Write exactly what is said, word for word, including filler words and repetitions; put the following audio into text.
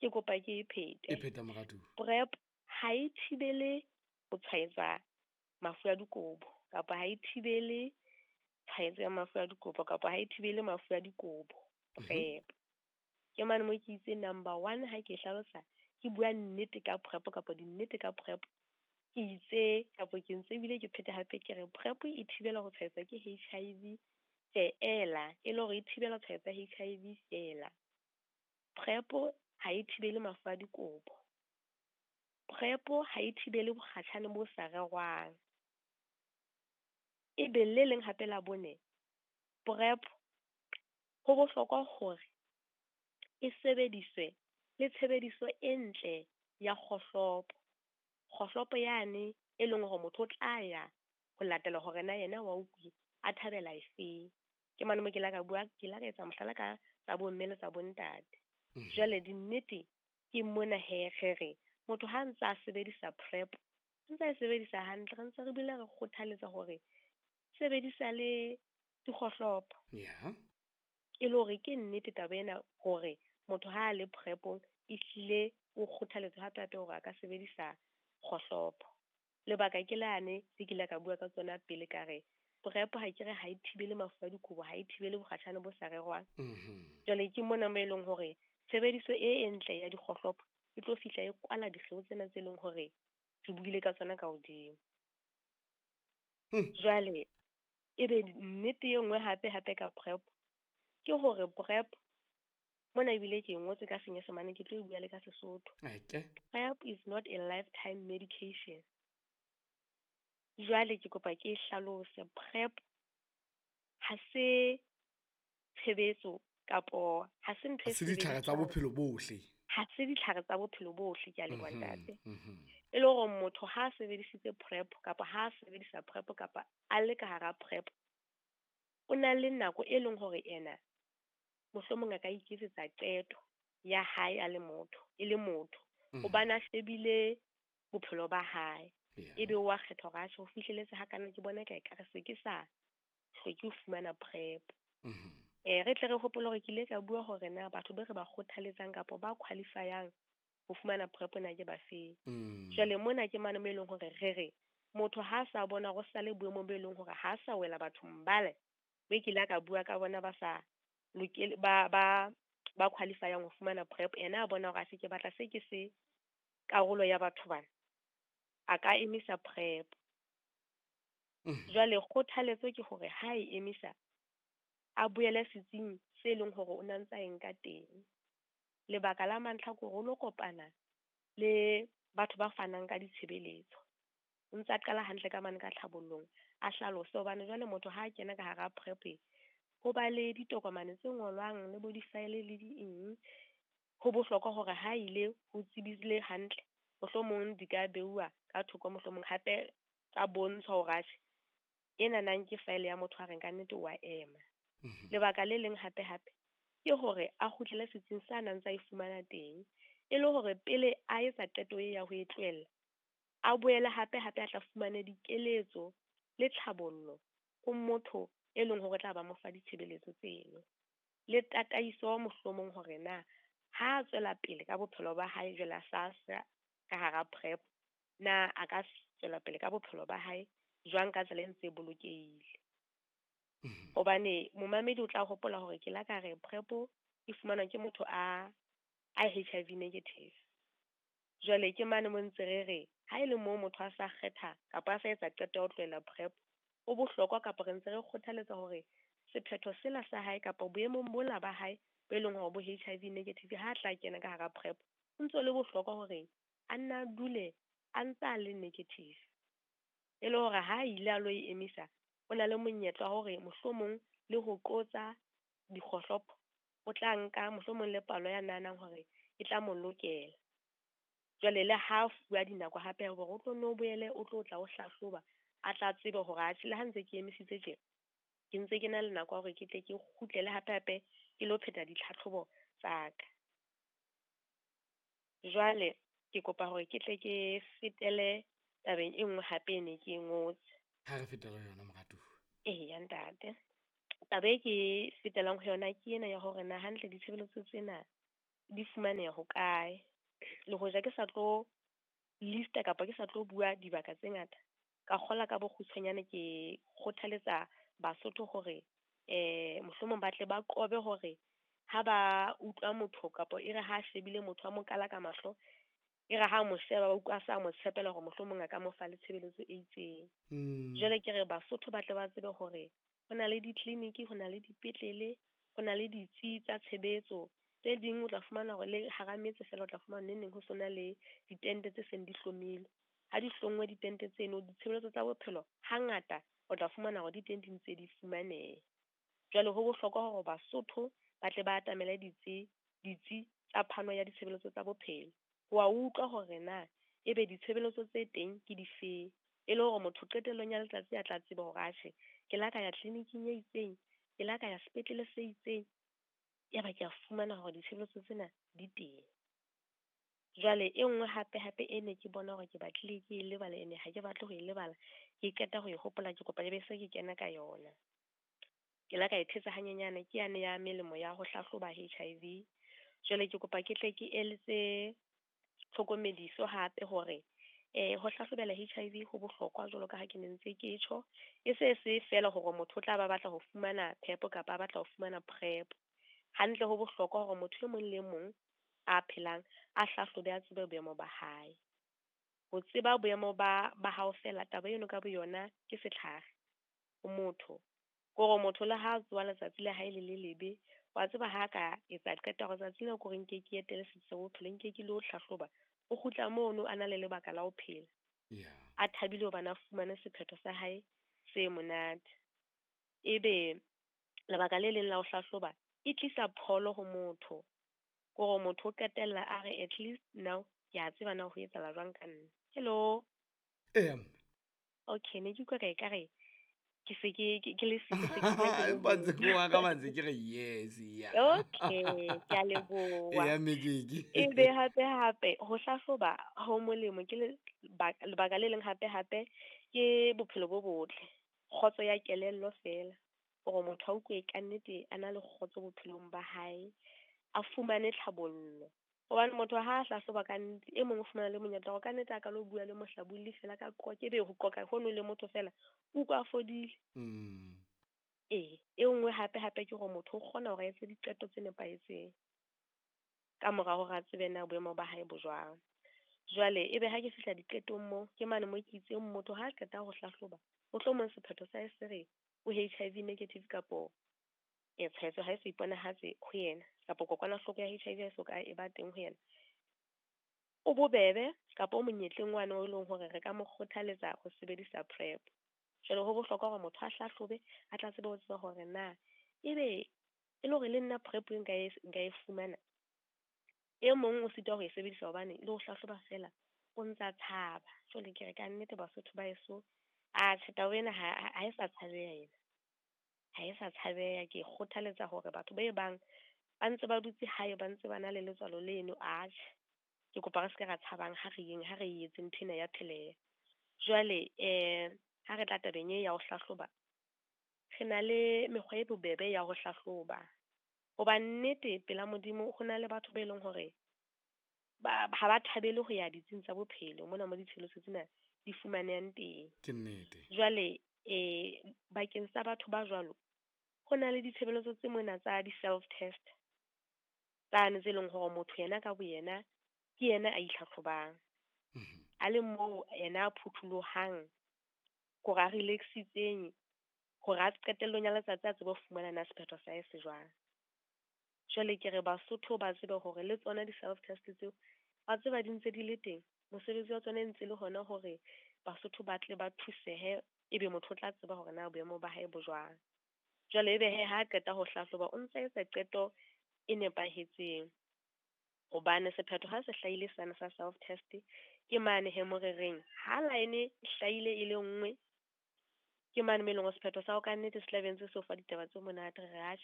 Ke kopa ke e phete. E pheta moratuwa. PrEP ha e thibele ho tshwaetsa mafu a dikobo kapa ha e thibele tshwaetso ya mafu a dikobo kapa ha e thibele mafu a dikobo. PrEP. Ke mane mo ke itse number one ha ke hlalosa ke bua nnete ka PrEP kapa dinnete ka PrEP. Ke itse kapa ke ntse ebile ke phete hape ke re PrEP e thibela ho tshwaetsa ke H I V feela, e le hore e thibela tshwaetso ya H I V feela. PrEP ha e thibele mafu a dikobo. PrEP ha e thibele bokgatjhane bo sa rerwang. Ebe le leng hape la bone, PrEP ho bohlokwa hore e sebediswe le tshebediso e ntle ya kgohlopo. Kgohlopo yane e leng hore motho o tla ya ho latela hore na yena wa utlwi a thabela efeng. Ke mane mo ke la ka bua, ke la ka etsa mohlala ka tsa bomme le tsa bontate. Mm-hmm. Jwale dinnete ke mona he re re motho ha ntse a sebedisa PrEP, ntse a e sebedisa hantle, re ntse re bile re kgothaletsa hore sebedisa le dikgohlopo. Yeah. E le hore ke nnete taba ena hore motho ha a le PrEP-ong ehlile o kgothaletswa hape hape hore a ka sebedisa kgohlopo. Lebaka ke lane le ke ile ka bua ka tsona pele ka re PrEP ha ke re ha e thibele mafu a dikobo, ha e thibele bokgatjhane bo sa rerwang. Mm-hmm. Jwale ke mona mo e leng hore tshebediso e e ntle ya dikgohlopo e tlo fihla e kwala dikgeo tsena tse leng hore re buile ka tsona ka hodimo. Hmm. Jwale ebe nnete e nngwe hape hape ka PrEP ke hore PrEP mona ebile ke e ngotse ka Senyesemane, ke tlo e bua le ka Sesotho. Okay. PrEP is not a lifetime medication. Jwale ke kopa ke e hlalose. PrEP ha se tshebetso kapo ha se ntho e Ha se ditlhare tsa sebediswang. bophelo bohle. Ha se ditlhare tsa bophelo bohle, ke a leboha Mhm, ntate. mhm. E le hore motho ha a sebedisitse PrEP kapa ha a sebedisa PrEP kapa a le ka hara PrEP, o na le nako e leng hore ena mohlomong a ka iketsetsa qeto ya hae a le motho, e le motho. Mhm. Hobane a shebile bophelo ba hae. Yeah. Ebe wa kgetha hore a tjhe, ho fihleletse ha kana ke bona ka ekare se ke sa hloke ho fumana PrEP. Mhm. Eh, re tle re hopole hore ke ile ka bua hore na batho be re ba kgothaletsang kapa ba qualifyang ho fumana PrEP na ke ba feng. Mm. Jwale mona ke mane mo e leng hore re re motho ha sa bona hore o sa le boemong bo e leng hore ha sa wela bathong bale, be ke ile ka bua ka bona ba sa lokele, ba, ba, ba qualifyang ho fumana PrEP, yena a bona hore a se ke batla se ke se karolo ya batho bana, a ka emisa PrEP. Mm. Jwale kgothaletso ke hore ha e emisa a boele setsing se leng hore o na ntsa e nka teng. Lebaka la mantlha ke hore o lo kopana le batho ba fanang ka ditshebeletso. O ntsa qala hantle ka mane ka tlhabollong, a hlalose hobane jwale motho ha a kena ka hara PrEP, ho ba le ditokomane tse ngolwang le bo di-file le di eng. Ho bohlokwa hore ha ile ho tsebisile hantle, mohlomong di ka beuwa ka thoko, mohlomong hape tsa bontshwa hore atjhe ena nang ke file ya motho a reng ka nnete wa ema. Mhm. Lebaka le leng hape hape ke hore a kgutlele setsing sa nang tsa e fumana teng, e le hore pele a etsa qeto e ya ho e tlohella, a boele hape hape a tla fumane dikeletso le tlhabollo ho motho e leng hore tla ba mo fa ditshebeletso tseno, le tataiso mohlomong hore na ha a tswela pele ka bophelo ba hae jwale a sa sa ka hara PrEP, na a ka tswela pele ka bophelo ba hae jwang ka tsela e ntse e bolokehile. Mhm. Hobane momamedi o tla hopola hore ke la ka re PrEP e fumanwa ke motho a, a H I V negative. Jwale ke mane mo ntse re re ha e le moo motho a sa kgetha kapa a sa etsa qeto ya ho tlohela PrEP, ho bohlokwa kapa re ntse re kgothaletsa hore sephetho sela sa hae kapa boemong bola ba hae bo e leng hore bo H I V negative ha tla kena ka hara PrEP, ho ntso le bohlokwa hore a nna a dule a ntse a le negative. E le hore ha ile a lo e emisa, o na le monyetla wa hore mohlomong le ho qotsa dikgohlopo, o tla nka mohlomong le palo ya nahanang hore e tla mo lokela. Jwale le ha fuwa dinako hape hore o tlo no boele o tlo tla o hlahloba, a tla tsebe hore atjhe le ha ntse ke emisitse tje, ke ntse ke na le nako ya hore ke tle ke kgutlele hape hape ke lo pheta ditlhatlhobo tsa ka. Jwale ke kopa hore ke tle ke fetele tabeng e nngwe hape e ne ke e ngotse. Ha re fetela ho yona, moratuwa. Eya, ntate. Taba e ke fetelang ho yona ke ena ya hore na hantle ditshebeletso tsena di fumaneha hokae. Le hoja ke sa tlo lista kapa ke sa tlo bua dibaka tse ngata, ka kgola ka bokgutshwanyane ke kgothaletsa Basotho hore eh mohlomong ba tle ba qobe hore ha ba utlwa motho kapa e re ha shebile motho a mo kala ka mahlo, e re ha mo sheba ba utlwa sa mo tshepela hore mohlomong a ka mo fa le tshebeletso e itseng. Mm. Jwale ke re Basotho ba tle ba tsebe hore ho na le di-clinic, ho na le dipetlele, ho na le ditsi tsa tshebetso. Tse ding o tla fumana hore le hara metse fela o tla fumana neng neng ho sona le ditente tse seng di hlomilwe. Ha di hlongwe ditente tseno, ditshebeletso tsa bophelo hangata o tla fumana hore di teng di ntse di fumaneha. Jwale ho bohlokwa hore Basotho ba tle ba atamele ditsi, ditsi tsa phano ya ditshebeletso tsa bophelo. Wa utlwa hore na ebe ditshebeletso tse teng ke difeng, e le hore motho qetellong ya letsatsi a tla tseba hore atjhe ke la ka ya clinic-ing e itseng, ke la ka ya sepetlele se itseng, ya ba ke a fumana hore ditshebeletso tsena di teng. Jwale e nngwe hape hape e ne ke bona hore ke batlile ke e lebala, ene ha ke batle ho e lebala, ke qeta ho e hopola, ke kopa ebe se ke kena ka yona. Ke la ka e thetsa hanyenyane, ke yane ya melemo ya ho hlahloba H I V. Jwale ke kopa ke tle ke eletse tlhokomediso hape hore eh ho hlahlobela H I V ho bohlokwa jwalo ka ha ke ne ntse ke tjho. E se se fela hore motho o tla ba batla ho fumana phepo kapa a batla ho fumana PrEP. Hantle ho bohlokwa hore motho e mong le mong a phelang a hlahlobe a tsebe boemo ba hae. Ho tseba boemo ba, ba hao fela, taba eno ka boyona ke setlhare ho motho. Kore motho le ha tsoha letsatsi le hae le le lebe, wa tseba ha ka etsa qeto hore tsatsi lena ke hore nke ke etele setsi sa bophelo, nke ke lo hlahloba, o kgutla mono a na le lebaka la ho phela. Yeah. A thabile hobane a fumane sephetho sa hae se monate. Ebe lebaka le leng la ho hlahloba e tlisa pholo ho motho. Kore motho o qetella a re at least now ke a tseba na ho etsahala jwang ka nna. Hello. Eya. Okay, ne ke utlwa ka ekare ke se ke, ke, ke le siko, se ke bua ke le Empa ntse ke mong. wa ka ba ntse ke re yes, yeah. Okay, ke a leboha. Eya, Mekeke. Ebe hape hape ho hlahloba ho molemo ke le-, ba-, lebaka le leng hape hape ke bophelo bo botle, kgotso ya kelello fela, hore motho a utlwe ka nnete a na le kgotso bophelong ba hae, a fumane tlhabollo. Hobane motho ha a hlahloba ka nnete, e mong o fumana le monyetla hore ka nnete a ka lo bua le mohlabolli fela ka qoqa, ebe ho qoqa hono le motho fela, o utlwa a fodile. Mm. Ee, e nngwe hape hape ke hore motho o kgona hore a etse diqeto tse nepahetseng ka mora hore a tsebe na boemo ba hae bo jwang. Jwale ebe ha ke fihla diqetong moo, ke mane mo ke itseng motho ha a qeta ho hlahloba, mohlomong sephetho sa hae se re o H I V negative kapo e tshwaetso ha e so iponahatse ho yena, kapa kokwanahloko ya H I V ha e so ka e ba teng ho yena. O bobebe kapa o monyetleng wane o leng hore re ka mo kgothaletsa ho sebedisa PrEP. Jwale ho bohlokwa hore motho a hlahlobe, a tla tsebe ho tseba hore na ebe e le hore le nna PrEP nka e, nka e fumana. E mong o sitwa ho e sebedisa hobane le ho hlahloba fela o ntsa tshaba. Jwale ke re ka nnete Basotho ba heso, atjhe taba ena ha, ha, ha e sa tshabeha ena. Ha e sa tshabeha. Ke kgothaletsa hore batho ba e bang ba ntse ba dutse hae, ba ntse ba na le letswalo leno, atjhe ke kopa re se ke ra tshabang, ha re yeng, ha re etse ntho ena ya pheleha. Jwale, eh, ha re tla tabeng e ya ho hlahloba, re na le mekgwa e bobebe ya ho hlahloba. Hoba nnete pela Modimo ho na le batho ba e leng hore ba, ha ba thabele ho ya ditsing tsa bophelo mona mo ditshebeletso tsena di fumanehang teng. Ke nnete. Jwale, eh, bakeng sa batho ba jwalo, ho na le ditshebeletso tse mona tsa di-self test tsane tse leng hore motho yena ka boyena ke yena a itlhatlhobang. Mhm. A le moo yena a phuthulohang, hore a relaxitseng, hore a qetellong ya letsatsi a tsebe ho fumana na sephetho sa hae se jwang. Jwale ke re Basotho ba tsebe hore le tsona di-self test tseo, ba tseba di ntse di le teng. Mosebetsi wa tsona e ntse le hona hore Basotho ba tle ba thusehe, ebe motho o tla tseba hore na boemo ba hae bo jwang. Jwale ebe he ha qeta ho hlahloba, o ntse etsa qeto e nepahetseng. Hobane sephetho ha se hlahile sane sa self test, ke mane he mo re reng ha line e hlahile e le nngwe, ke mane mo e leng hore sephetho sa hao ka nnete se tla be ntse se o fa ditaba tse monate, re re atjhe.